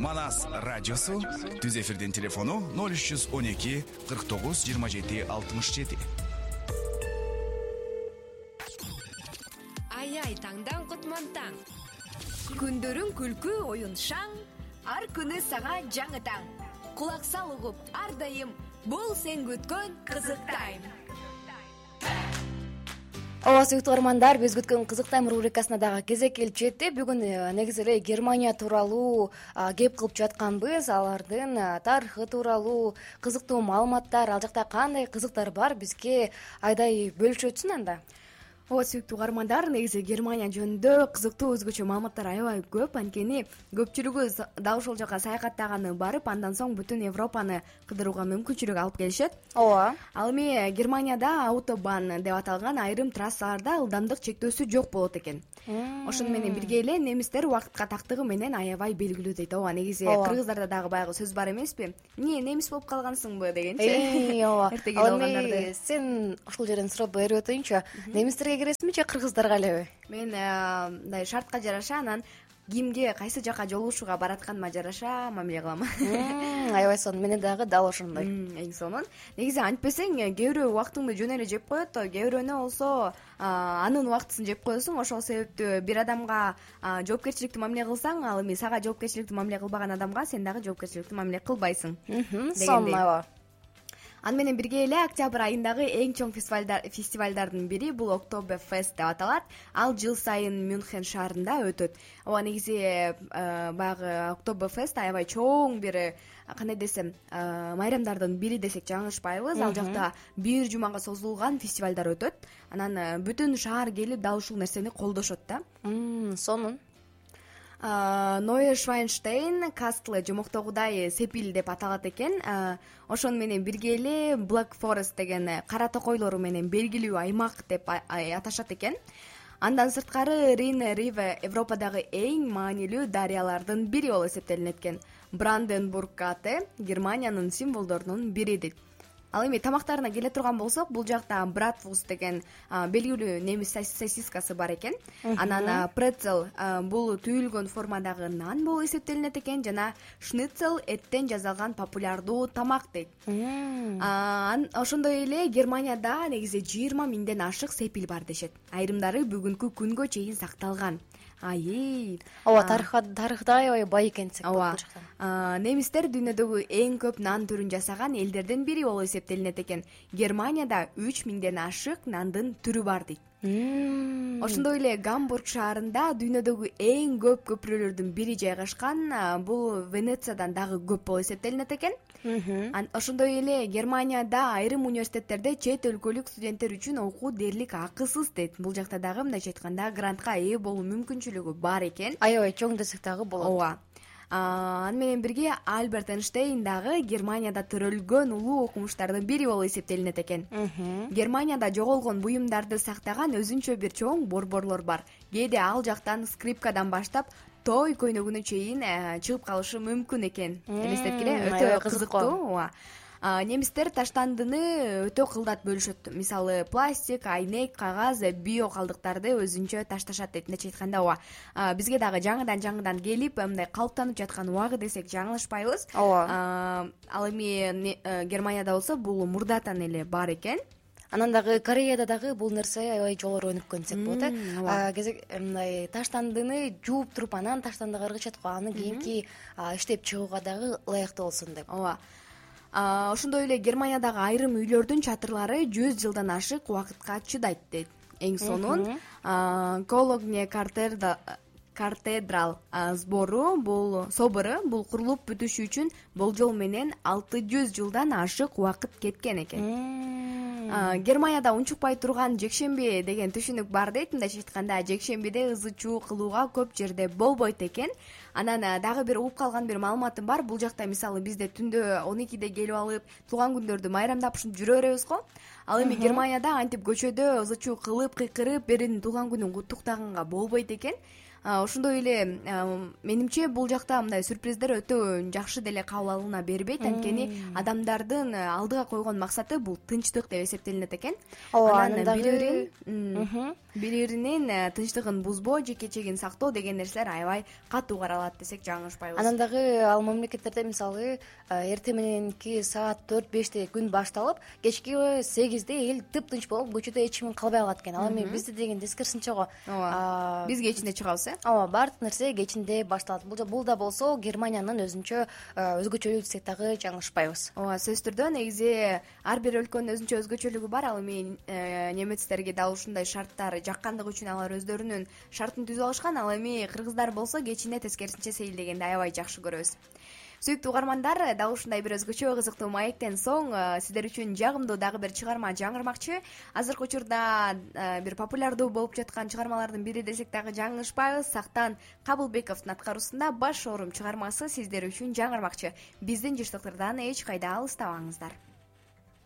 Манас радиосу. Түз эфирдин телефону 0312 49 27 67. Ай таңдан кутман таң. Күндөрүң күлкү, оюн шаң, ар күнү сага жаңы таң. Кулак сал угуп ар дайым, бул сен күткөн кызык тайм. Ооба, сүйүктүү угармандар, биз күткөн кызык тайм рубрикасына дагы кезек келип жетти. Бүгүн негизи эле Германия тууралуу кеп кылып жатканбыз. Алардын тарыхы тууралуу кызыктуу маалыматтар, ал жакта кандай кызыктар бар, бизге Айдай бөлүшөтсүн анда. Ооба, сүйүктүү угармандар, негизи Германия жөнүндө кызыктуу өзгөчө маалыматтар аябай көп. Анткени көпчүлүгү дал ошол жака саякаттаганы барып, андан соң бүтүн Европаны кыдырууга мүмкүнчүлүк алып келишет. Ооба. Ал эми Германияда автобан деп аталган айрым трассаларда ылдамдык чектөөсү жок болот экен. Ошону менен бирге эле немистер убакытка тактыгы менен аябай белгилүү дейт. Ооба, негизи кыргыздарда дагы баягы сөз бар эмеспи? Эмне немис болуп калгансыңбы дегенчи. Ооба. Эртеге алгандарды. Сен ушул жерден сурап берип өтөйүнчү. Немистерге киресиңби же кыргыздарга элеби? Мен мындай шартка жараша, анан кимге кайсы жака жолугушууга баратканыма жараша мамиле кылам. Аябай сонун, менен дагы дал ошондой. Эң сонун. Негизи антпесең, кээ бирөө убактыңды жөн эле жеп коет, кээ бирөөнө болсо анын убактысын жеп коесуң. Ошол себептүү бир адамга жоопкерчиликтүү мамиле кылсаң, ал эми сага жоопкерчиликтүү мамиле кылбаган адамга сен дагы жоопкерчиликтүү мамиле кылбайсың. Сонун, аябай. Аны менен бирге эле октябрь айындагы эң чоң фестивалдардын бири бул Oktoberfest деп аталат. Ал жыл сайын Мюнхен шаарында өтөт. Ооба, негизи баягы Oktoberfest аябай чоң бир, кандай десем, майрамдардын бири десек жаңылышпайбыз. Ал жакта бир жумага созулган фестивалдар өтөт. Анан бүтүн шаар келип дал ушул нерсени колдошот да. Сонун. Нойе Швайнштейн кастлы жомоктогудай сепил деп аталат экен. Ошону менен бирге эле Black Forest деген кара токойлору менен белгилүү аймак деп аташат экен. Андан сырткары Рейн-Риве Европадагы эң маанилүү дарыялардын бири болуп эсептелинет экен. Бранденбург аты Германиянын символдорунун бири дейт. Ал эми тамактарына келе турган болсок, бул жакта братвурст деген белгилүү немис сосискасы бар экен. Анан прецел бул түйүлгөн формадагы нан болуп эсептелинет экен жана шницел эттен жасалган популярдуу тамак дейт. Ошондой эле Германияда негизи 20 миңден ашык сепил бар дешет. Айрымдары бүгүнкү күнгө чейин сакталган. Ооба, тарыхта аябай бай экенсек бул жактан. Немистер дүйнөдөгү эң көп нан түрүн жасаган элдерден бири болуп эсептелинет экен. Германияда 3 миңден ашык нандын түрү бар дейт. Ошондой эле Гамбург шаарында дүйнөдөгү эң көп көпүрөлөрдүн бири жайгашкан. Бул Венециядан дагы көп болуп эсептелинет экен. Ошондой эле Германияда айрым университеттерде чет өлкөлүк студенттер үчүн окуу дээрлик акысыз дейт. Бул жакта дагы мындайча айтканда грантка ээ болуу мүмкүнчүлүгү бар экен. Аябай чоң десек дагы болот. Ооба. Аны менен бирге Альберт Эйнштейн дагы Германияда төрөлгөн улуу окумуштардын бири болуп эсептелинет экен. Германияда жоголгон буюмдарды сактаган өзүнчө бир чоң борборлор бар. Кээде ал жактан скрипкадан баштап той көйнөгүнө чейин чыгып калышы мүмкүн экен. Элестеткиле, өтө кызыктуу. Ооба. Немистер таштандыны өтө кылдат бөлүшөт. Мисалы, пластик, айнек, кагаз, био калдыктарды өзүнчө ташташат дейт. Мындайча айтканда, ооба, бизге дагы жаңыдан келип, мындай калыптанып жаткан убагы десек жаңылышпайбыз. Ооба. Ал эми Германияда болсо бул мурдатан эле бар экен. Анан дагы Кореяда дагы бул нерсе аябай жогору өнүккөн десек болот. Мындай таштандыны жууп туруп, анан таштандыга ыргычат го, аны кийинки иштеп чыгууга дагы ылайыктуу болсун деп. Ооба. Ошондой эле Германиядагы айрым үйлөрдүн чатырлары 100 жылдан ашык убакытка чыдайт дейт. Эң сонун Кологне катедрал собору бул курулуп бүтүшү үчүн болжол менен 600 жылдан ашык убакыт кеткен экен. Германияда унчукпай турган жекшемби деген түшүнүк бар дейт. Мындайча айтканда, жекшембиде ызы чуу кылууга көп жерде болбойт экен. Анан дагы бир угуп калган бир маалыматым бар. Бул жакта мисалы бизде түндө 12де келип алып туулган күндөрдү майрамдап ушинтип жүрө беребиз го. Ал эми Германияда антип көчөдө ызы чуу кылып, кыйкырып, биринин туулган күнүн куттуктаганга болбойт экен. Ошондой эле менимче бул жакта мындай сюрприздер өтө жакшы деле кабыл алына бербейт. Анткени адамдардын алдыга койгон максаты бул тынчтык деп эсептелинет экен. Анан бири бири биринин тынчтыгын бузбоо, жеке-чегин сактоо деген нерселер аябай катуу каралат десек жаңылышпайбыз. Анан дагы ал мамлекеттерде мисалы эртең мененки саат 4-5те күн башталып, кечки 8де эл тыптынч болуп көчөдө эч ким калбай калат экен. Ал эми бизде деген тескерисинче го. Ооба. Биз кечинде чыгабыз, ооба, баардык нерсе кечинде башталат. Бул да болсо Германиянын өзгөчөлүгү десек дагы жаңылышпайбыз. ооба, сөзсүз түрдө негизи ар бир өлкөнүн өзгөчөлүгү бар. Ал эми немецтерге дал ушундай шарттар жаккандыгы үчүн алар өздөрүнүн шартын түзүп алышкан. Ал эми кыргыздар болсо кечинде тескерисинче сейилдегенди аябай жакшы көрөбүз. Сүйүктүү угармандар, дал ушундай бир өзгөчө кызыктуу маектен соң сиздер үчүн жагымдуу дагы бир чыгарма жаңырмакчы. Азыркы учурда бир популярдуу болуп жаткан чыгармалардын бири десек дагы жаңылышпайбыз. Сактан Кабылбековдун аткаруусунда Баш оорум чыгармасы сиздер үчүн жаңырмакчы. Биздин жыштыктардан эч кайда алыстабаңыздар.